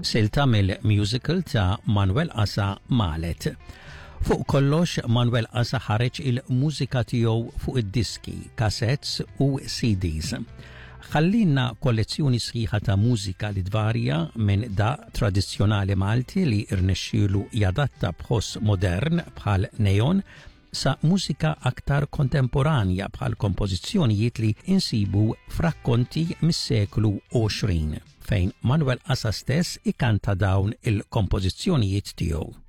Silta mill-musical ta' Manuel Asa Malet. Fuq kollox, Manuel Asa ħareġ il-mużika tiegħu fuq id-diski, cassettes u CDs. Ħallinna kollezzjoni sħiħa ta' mużika li tvarja minn daqq tradizzjonali Malti li rnexxielu jadatta b'ħoss modern bħal Neon sa mużika aktar kontemporanja bħal kompożizzjonijiet li insibu f'rakkonti mis-seklu 20 fejn Manuel Asa stess ikanta dawn il-kompożizzjonijiet tiegħu.